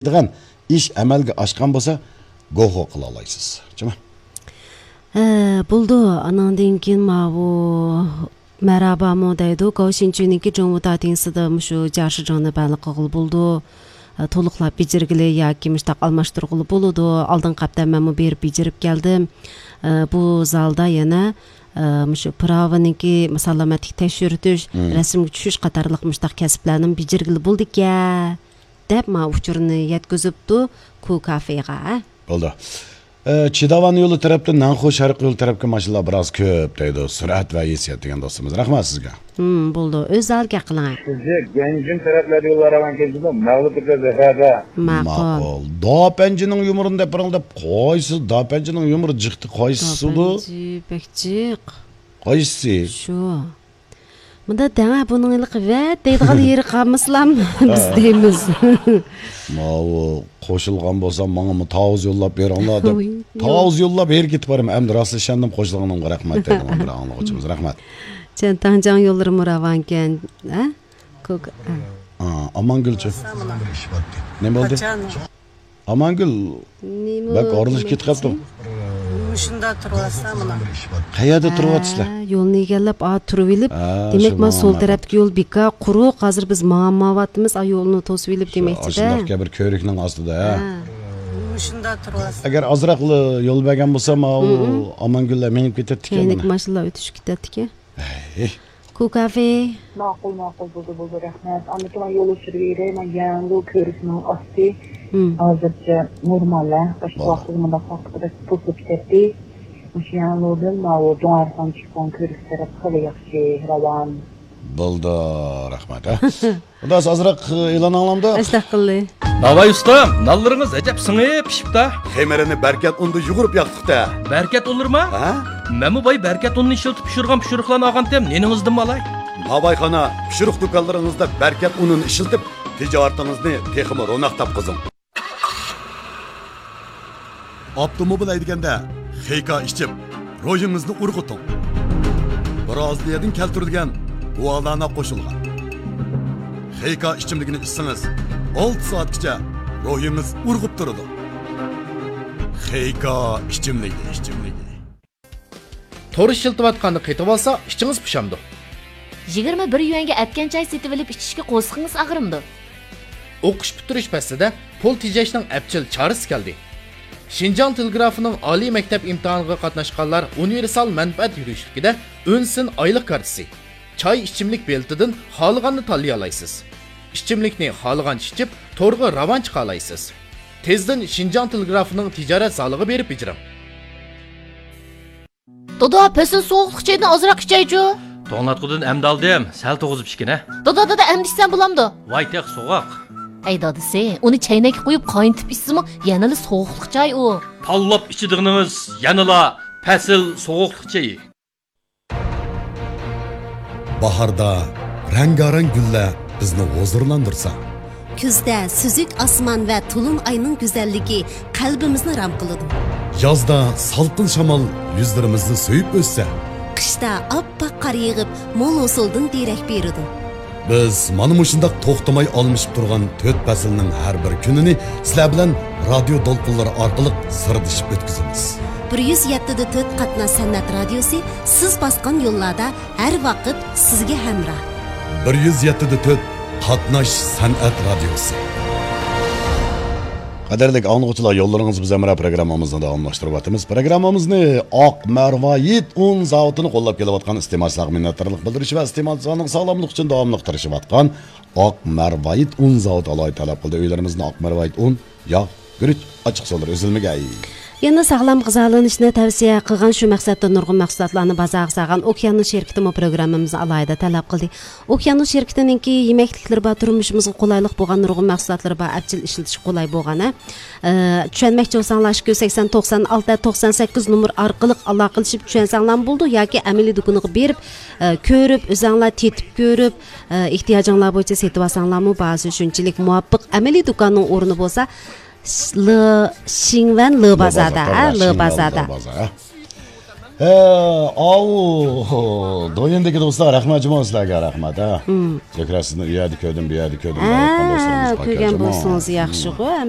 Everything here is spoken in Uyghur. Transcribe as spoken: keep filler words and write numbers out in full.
دېگەن ئىش ئەمەلگە ئاشقان بولسا، گوخو قىلالايسىز. جۇمۇ؟ ھە، بولىدۇ. ئاناندىن كېيىن ماۋۇ مەرھابامۇ دەيدۇ، گاۋشىنچۈنىڭكى جۇڭۋۇ تاتىڭسىدا مۇشۇ جياشىجياڭنى بەللى قىلغىلى بولىدۇ. ئە، تولۇقلاپ بېجىرگىلى ياكى مۇشتاق ئالماشتۇرغىلى بولىدۇ. ئالدىنقى ھەپتە مەنمۇ بېرىپ بېجىرىپ كەلدىم. ئە، بۇ زالدا يەنە، ئە، مۇشۇ پىراۋىنىڭكى سالامەتلىك تەكشۈرتۈش، مم، رەسىمگە چۈشۈش قاتارلىق مۇشتاق كەسىپلەرنىمۇ بېجىرگىلى بولىدىكەن، دەپ ماڭا ئۇچۇرنى يەتكۈزۈپتۇ كۇ كافېغا. بولدى. ئە، چىداۋان يولى تەرەپتىن نەنخۇ شەرقىي يول تەرەپكە ماشىنىلار بىراز كۆپ دەيدۇ. سۈرئەت ۋە ھېسسىيات دېگەن دوستىمىز. رەھمەت سىزگە. ھىم، بولىدۇ. ئۆز ھالىغا قىلىڭ. سىزگە گەنجىن تەرەپلەردە يوللار ئاۋان كەلدىمۇ، مەغلۇپ بىر زەھەردە. ماقۇل. ماقۇل. داپەنجىنىڭ يۇمۇرىنى دەپ بېرىڭ دەپ قايسى داپەنجىنىڭ يۇمۇرى جىقتى قايسىسىدۇ؟ داپەنجى بەك جىق. قايسىسى؟ شۇ. مۇندا دەڭە بۇنىڭ ھېلىقى ۋەت دەيدىغان يېرى قالمىسىلام بىز دەيمىز. ماۋۇ قوشۇلغان بولسام ماڭىمۇ تاۋۇز يوللاپ بېرىڭلار دەپ. ۋۇي، يوق. تاۋۇز يوللاپ ھېرى كېتىپ بارىمەن. ئەمدى راست ئىشەندىم قوشۇلغىنىمغا رەھمەت دەيدىغان بىر ئاڭلىغۇچىمىز. رەھمەت. چيەنتاڭجياڭ يوللىرىمۇ راۋانكەن، ھە؟ كوك-، ھە. ئا، ئامانگۈلچۇ. نېمە بولدى؟ قاچان؟ ئامانگۈل، نېمە بەك ئورۇنلىشىپ كېتىپ قاپتۇ. مۇشۇنداق تۇرۇۋاتسا مانا. قەيەردە تۇرۇۋاتىسىلەر؟ ھە، يولنى ئېگەرلەپ، ئا، تۇرۇۋېلىپ، ھە، دېمەك، شۇ مانا سول ماڭا تەرەپتىكى يول بىكار، قۇرۇق. ھازىر بىز ماڭا-، ماڭىۋاتىمىز، ئا، يولنى توسۇۋېلىپ دېمەكچىدە. ئاشۇنداق بىر كۆۋرۈكنىڭ ئاستىدا، ھە. ھە. مۇشۇنداق تۇرۇۋاتسا. ئەگەر ئازراقلا يول بەرگەن بولسا، ماۋۇ ئامانگۈللەر مېڭىپ كېتەتتىكەن مانا. ماشىنىلار ئۆتۈشۈپ كېتەتتىكەن. ھەي. كۇ كافې. ماقۇل، ماقۇل، بولدى، بولدى، رەھمەت. ئاندىن كېيىن يول ئۇچۇرى بېرەي، مانا يەڭگۇ كۆۋرۈكنىڭ ئاستى. ھازىرچە نورمال، ھە. باشقا ۋاقىتتا مۇنداق ۋاقىتتا بەك توسۇلۇپ كېتەتتى. مۇشۇ يەڭگۇدىن ماۋۇ دۇڭئەرخان چىققان كۆۋرۈك تەرەپ خېلى ياخشى، راۋان. بولدى، رەھمەت، ھە. خۇداس ئازراق ئېلان ئاڭلامدۇ؟ ئەشتاق قىلدى. ناۋاي ئۇستام، نانلىرىڭىز ئەجەب سىڭىپ پىشىپتا. خېمىرىنى بەركەت ئۇندا يۇغۇرۇپ ياقتۇقتا. بەركەت ئۇنلىرىما؟ ھە؟ مەنمۇ باي بەركەت ئۇنىنى ئىشلىتىپ پىشۇرغان پىشۇرۇقلارنى ئالغانتىم، نېنىڭىزدىنمۇ ئالاي؟ ناۋايخانا، پىشۇرۇق دۇكانلىرىڭىزدا بەركەت ئۇنىنى ئىشلىتىپ، تىجارىتىڭىزنى تېخىمۇ روناق تاپقۇزۇڭ. ئاپتوموبىل ھەيدىگەندە خېيكا ئىچىپ، روھىڭىزنى ئۇرغۇتۇڭ. برازىلىيەدىن كەلتۈرۈلگەن گۇالانا قوشۇلغان خېيكا ئىچىملىكىنى ئىچسىڭىز، ئالتە سائەتكىچە روھىڭىز ئۇرغۇپ تۇرىدۇ. خېيكا ئىچىملىكى، ئىچىملىكى. تور ئىشلىتىۋاتقاندا قېتىۋالسا، ئىچىڭىز پۇشامدۇ؟ يىگىرمە بىر يۈەنگە ئەتكەن چاي سېتىۋېلىپ ئىچىشكە قورسىقىڭىز ئاغرىمدۇ؟ ئوقۇش پۈتتۈرۈش پەسلىدە پۇل تېجەشنىڭ ئەپچىل چارىسى كەلدى. شىنجاڭ تېلېگرافىنىڭ ئالىي مەكتەپ ئىمتىھانىغا قاتناشقانلار ئۇنىۋېرسال مەنپەئەت يۈرۈشلۈكىدە ئۈن سىن ئايلىق كارتىسى، چاي ئىچىملىك بېلىتىدىن خالىغاننى تاللىيالايسىز. ئىچىملىكنى خالىغانچە ئىچىپ، تورغا راۋان چىقالايسىز. تېزدىن شىنجاڭ تېلېگرافىنىڭ تىجارەت زالىغا بېرىپ بېجىرىڭ. دادا، پەسىل سوغۇقلۇق چايدىن ئازراق ئىچەيچۇ. توڭلاتقۇدىن ئەمدى ئالدىم، سەل توغۇزۇپ ئىچكىنە. دادا، دادا، ئەمدى ئىچسەم بولامدۇ؟ ۋاي، تېخى سوغۇق. ھەي دادىسى، ئۇنى چەينەككە قۇيۇپ قاينىتىپ ئىچسىمۇ يەنىلا سوغۇقلۇق چاي ئۇ. تاللاپ ئىچىدىغىنىڭىز يەنىلا پەسىل سوغۇقلۇق چېيى. باھاردا رەڭگارەڭ گۈللەر بىزنى ھۇزۇرلاندۇرسا، كۈزدە سۈزۈك ئاسمان ۋە تولۇن ئاينىڭ گۈزەللىكى قەلبىمىزنى رام قىلىدۇ. يازدا سالقىن شامال يۈزلىرىمىزنى سۆيۈپ ئۆتسە، قىشتا ئاپئاق قار يېغىپ، مول ھوسۇلدىن دېرەك بېرىدۇ. بىز مانا مۇشۇنداق توختىماي ئالمىشىپ تۇرغان تۆت پەسىلنىڭ ھەر بىر كۈنىنى سىلەر بىلەن رادىيو دولقۇنلىرى ئارقىلىق سىردىشىپ ئۆتكۈزىمىز. بىر يۈز يەتتە دە تۆت قاتناش سەنئەت رادىيوسى سىز باسقان يوللاردا ھەر ۋاقىت سىزگە ھەمراھ. بىر يۈز يەتتە دە تۆت قاتناش سەنئەت رادىيوسى. قەدىرلىك ئاڭلىغۇچىلار، يوللىرىڭىز بىز ھەمراھ پروگراممىمىزنى داۋاملاشتۇرۇۋاتىمىز. پروگراممىمىزنى ئاق مەرۋايىت ئۇن زاۋۇتىنى قوللاپ كېلىۋاتقان ئىستېمالچىلارغا مىننەتدارلىق بىلدۈرۈش ۋە ئىستېمالچىلارنىڭ ساغلاملىقى ئۈچۈن داۋاملىق تىرىشىۋاتقان ئاق مەرۋايىت ئۇن زاۋۇتى ئالاھىدە تەلەپ قىلدى. ئۆيلىرىمىزدىن ئاق مەرۋايىت ئۇن، ياغ، گۈرۈچ، ئاچچىقسۇلار ئۈزۈلمىگەي. يەنە ساغلام غىزالىنىشنى تەۋسىيە قىلغان، شۇ مەقسەتتە نۇرغۇن مەھسۇلاتلارنى بازارغا سالغان ئوكيانۇس شىركىتىمۇ پروگراممىمىزنى ئالاھىدە تەلەپ قىلدى. ئوكيانۇس شىركىتىنىڭكى يېمەكلىكلىرى بار، تۇرمۇشىمىزغا قولايلىق بولغان نۇرغۇن مەھسۇلاتلىرى بار، ئەپچىل ئىشلىتىشكە قولاي بولغان، ھە. ئە، چۈشەنمەكچى بولساڭلار، ئىككى يۈز سەكسەن، توقسان ئالتە، توقسان سەككىز نومۇر ئارقىلىق ئالاقىلىشىپ چۈشەنسەڭلارمۇ بولىدۇ ياكى ئەمەلىي دۇكىنىغا بېرىپ، ئە، كۆرۈپ، ئۆزەڭلار تېتىپ كۆرۈپ، ئە، ئېھتىياجىڭلار بويىچە سېتىۋالساڭلارمۇ باھاسى شۇنچىلىك مۇۋاپىق. ئەمەلىي دۇكاننىڭ ئورنى بولسا، ش-، لى، شىڭۋەن لى بازاردا، ھە، لى بازاردا. ئە، ئاۋۇ، دويىندىكى دوستلار، رەھمەت جۇمۇ سىلەرگە، رەھمەت، ھە. كۆكرەك سىزنى ئۇ يەردە كۆردۈم، بۇ يەردە كۆردۈم، ھە، دەۋاتقان دوستلىرىمىز بار كۆرگەن ئىكەن جۇمۇ. بولسىڭىز ياخشىغۇ، ھەم